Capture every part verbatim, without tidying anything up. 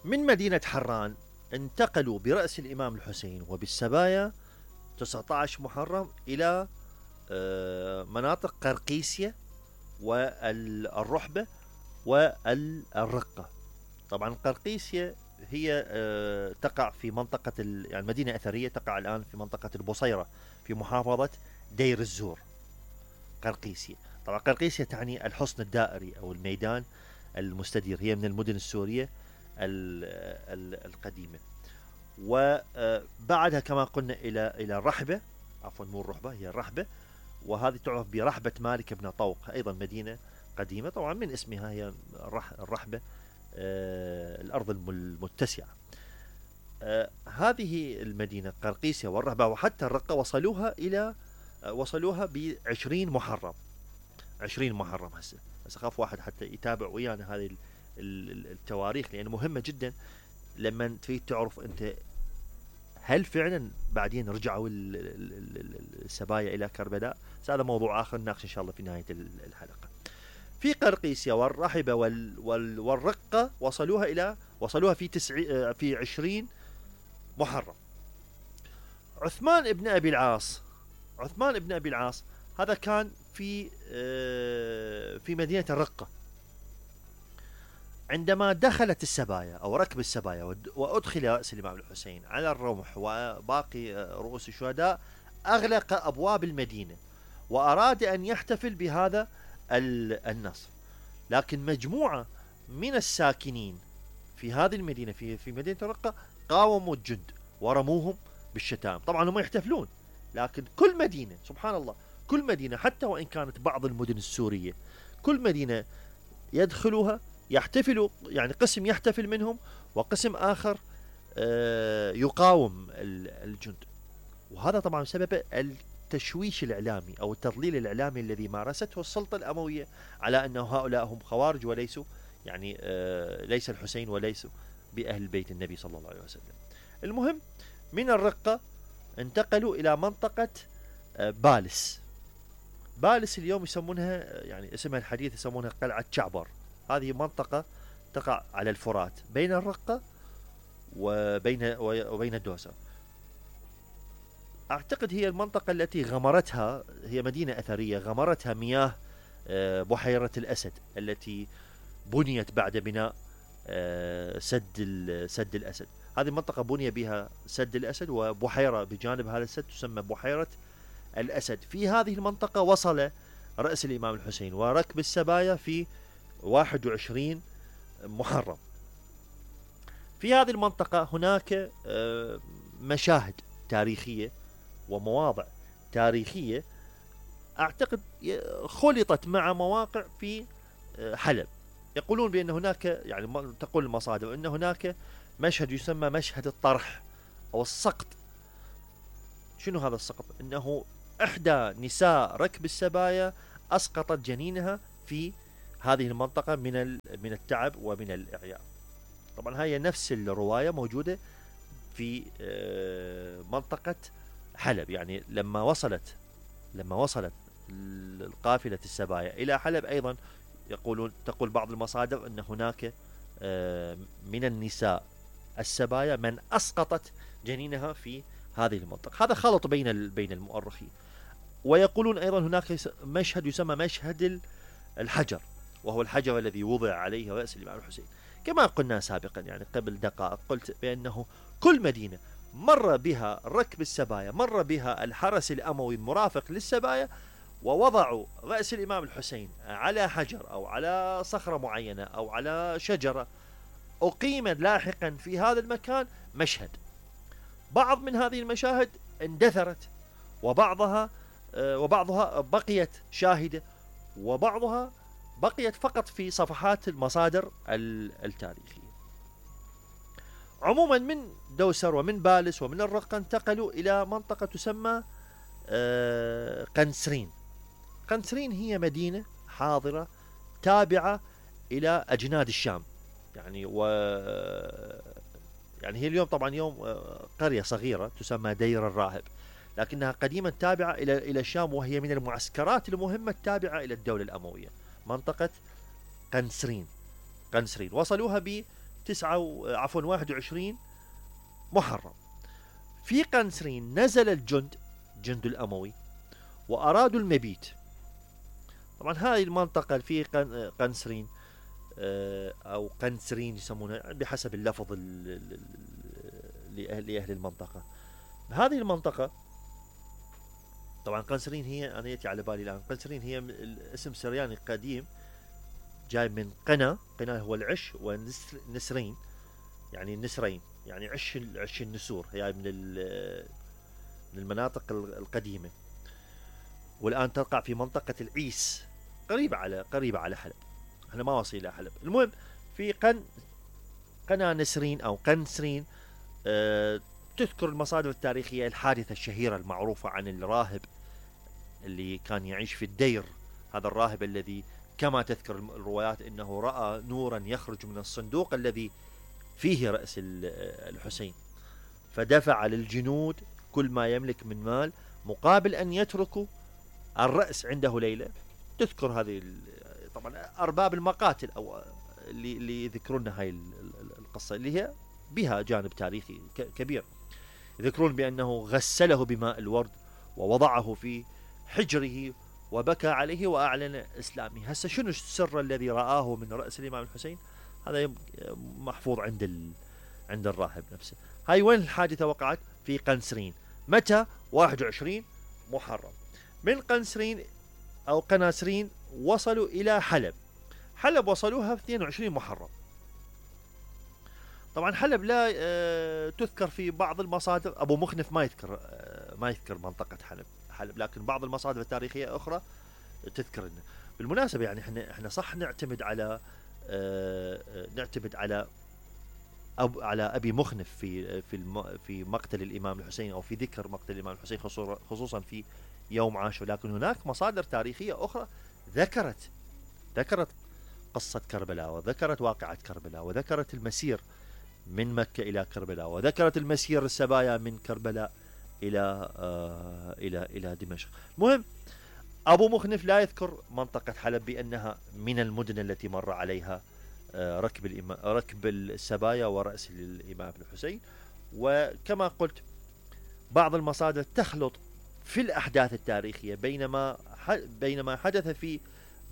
من مدينة حران انتقلوا برأس الإمام الحسين وبالسبايا تسعة عشر محرم إلى آه، مناطق قرقيسية والرحبة والرقة. طبعا قرقيسية هي آه، تقع في منطقة يعني مدينة أثرية تقع الآن في منطقة البصيرة في محافظة دير الزور. قرقيسية طبعا قرقيسية تعني الحصن الدائري أو الميدان المستدير، هي من المدن السورية القديمة. وبعدها كما قلنا إلى إلى الرحبة، عفوا مو الرحبة هي الرحبة، وهذه تعرف برحبة مالك بن طوق، أيضا مدينة قديمة طبعا من اسمها هي الرحبة، آه الأرض المتسعة. آه هذه المدينة قرقيسية والرحبة وحتى الرقة وصلوها إلى آه وصلوها بعشرين محرم. عشرين محرم هسه بس أخاف واحد حتى يتابع ويانا هذه التواريخ لأن مهمة جدا لما تريد تعرف أنت هل فعلا بعدين رجعوا السبايا إلى كربلاء. هذا موضوع آخر نناقش إن شاء الله في نهاية الحلقة. في قرقيسيا والرحبة وال وال والرقة وصلوها إلى وصلوها في تسع في عشرين محرم. عثمان ابن أبي العاص عثمان ابن أبي العاص هذا كان في في مدينة الرقة. عندما دخلت السبايا أو ركب السبايا وأدخل رأس الإمام الحسين على الرمح وباقي رؤوس الشهداء أغلق أبواب المدينة وأراد أن يحتفل بهذا النصر، لكن مجموعة من الساكنين في هذه المدينة في في مدينة الرقة قاوموا الجند ورموهم بالشتام. طبعا هم يحتفلون، لكن كل مدينة سبحان الله كل مدينة حتى وإن كانت بعض المدن السورية كل مدينة يدخلوها يحتفلوا، يعني قسم يحتفل منهم وقسم آخر يقاوم الجند. وهذا طبعا سبب التشويش الإعلامي أو التضليل الإعلامي الذي مارسته السلطة الأموية على أن هؤلاء هم خوارج وليسوا يعني ليس الحسين وليسوا بأهل بيت النبي صلى الله عليه وسلم. المهم من الرقة انتقلوا إلى منطقة بالس. بالس اليوم يسمونها يعني اسمها الحديث يسمونها قلعة شعبر. هذه منطقة تقع على الفرات بين الرقة وبين وبين الدوسة. أعتقد هي المنطقة التي غمرتها، هي مدينة أثرية غمرتها مياه بحيرة الأسد التي بنيت بعد بناء سد سد الأسد. هذه المنطقة بني بها سد الأسد وبحيرة بجانب هذا السد تسمى بحيرة الأسد. في هذه المنطقة وصل رأس الإمام الحسين وركب السبايا في واحد وعشرين محرم. في هذه المنطقة هناك مشاهد تاريخية ومواضع تاريخية أعتقد خلطت مع مواقع في حلب. يقولون بأن هناك يعني تقول المصادر أن هناك مشهد يسمى مشهد الطرح أو السقط. شنو هذا السقط؟ أنه إحدى نساء ركب السبايا أسقطت جنينها في هذه المنطقة من من التعب ومن الإعياء. طبعا هي نفس الرواية موجودة في منطقة حلب. يعني لما وصلت لما وصلت القافلة السبايا إلى حلب أيضا يقولون تقول بعض المصادر أن هناك من النساء السبايا من أسقطت جنينها في هذه المنطقة. هذا خلط بين بين المؤرخين. ويقولون أيضا هناك مشهد يسمى مشهد الحجر، وهو الحجر الذي وضع عليه رأس الإمام الحسين. كما قلنا سابقا يعني قبل دقائق قلت بأنه كل مدينة مر بها ركب السبايا مر بها الحرس الأموي المرافق للسبايا ووضعوا رأس الإمام الحسين على حجر أو على صخرة معينة أو على شجرة أقيم لاحقا في هذا المكان مشهد. بعض من هذه المشاهد اندثرت وبعضها وبعضها بقيت شاهدة وبعضها بقيت فقط في صفحات المصادر التاريخية. عموما من دوسر ومن بالس ومن الرقة انتقلوا إلى منطقة تسمى قنسرين. قنسرين هي مدينة حاضرة تابعة إلى أجناد الشام يعني و يعني هي اليوم طبعا يوم قرية صغيرة تسمى دير الراهب، لكنها قديما تابعة إلى إلى الشام وهي من المعسكرات المهمة التابعة إلى الدولة الأموية. منطقة قنسرين قنسرين وصلوها تسعة عفوا واحد وعشرين محرم. في قنسرين نزل الجند جند الأموي وأرادوا المبيت. طبعا هذه المنطقة في قنسرين أو قنسرين يسمونها بحسب اللفظ لأهل المنطقة. هذه المنطقة طبعا قنسرين هي أنا يأتي على بالي الآن قنسرين هي اسم سرياني قديم جاي من قنا. قنا هو العش ونسرين يعني النسرين يعني عش عش النسور هي من من المناطق القديمة، والآن تقع في منطقة العيس قريبة على قريبة على حلب. احنا ما وصل إلى حلب. المهم في قن قنا نسرين أو قنسرين أه تذكر المصادر التاريخية الحادثة الشهيرة المعروفة عن الراهب اللي كان يعيش في الدير. هذا الراهب الذي كما تذكر الروايات انه رأى نورا يخرج من الصندوق الذي فيه رأس الحسين، فدفع للجنود كل ما يملك من مال مقابل ان يتركوا الرأس عنده ليلة. تذكر هذه طبعا ارباب المقاتل او اللي, اللي يذكرون هاي القصة اللي هي بها جانب تاريخي كبير، يذكرون بأنه غسله بماء الورد ووضعه في حجره وبكى عليه وأعلن إسلامه. هسه شنو السر الذي رآه من رأس الإمام الحسين؟ هذا محفوظ عند ال... عند الراهب نفسه. هاي وين الحادثة وقعت؟ في قنسرين. متى؟ واحد وعشرين محرم. من قنسرين أو قناسرين وصلوا إلى حلب. حلب وصلوها في اثنين وعشرين محرم. طبعا حلب لا أه تذكر في بعض المصادر. أبو مخنف ما يذكر أه ما يذكر منطقة حلب حلب لكن بعض المصادر التاريخية أخرى تذكر إنه. بالمناسبة يعني احنا احنا صح نعتمد على أه نعتمد على أب على أبي مخنف في في في مقتل الإمام الحسين أو في ذكر مقتل الإمام الحسين خصوصا في يوم عاشور، لكن هناك مصادر تاريخية أخرى ذكرت ذكرت قصة كربلاء وذكرت واقعة كربلاء وذكرت المسير من مكة إلى كربلاء وذكرت المسير السبايا من كربلاء إلى آه إلى إلى دمشق. مهم أبو مخنف لا يذكر منطقة حلب بأنها من المدن التي مر عليها آه ركب الإمام ركب السبايا ورأس الإمام الحسين. وكما قلت بعض المصادر تخلط في الأحداث التاريخية بينما بينما حدث في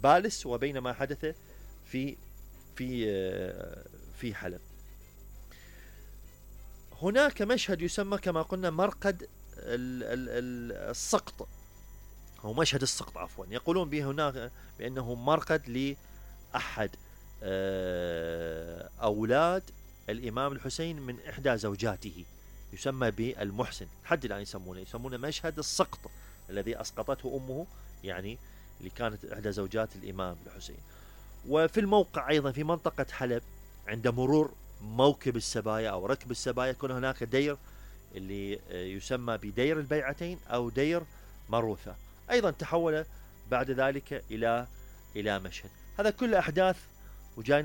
بالس وبينما حدث في في آه في حلب. هناك مشهد يسمى كما قلنا مرقد السقط أو مشهد السقط عفوا، يقولون به هناك بأنه مرقد لأحد أولاد الإمام الحسين من إحدى زوجاته يسمى بالمحسن. حد الآن يسمونه يسمونه مشهد السقط الذي أسقطته أمه يعني اللي كانت إحدى زوجات الإمام الحسين. وفي الموقع أيضا في منطقة حلب عند مرور موكب السبايا أو ركب السبايا يكون هناك دير اللي يسمى بدير البيعتين أو دير مروثة، أيضا تحول بعد ذلك إلى إلى مشهد. هذا كل أحداث وجاي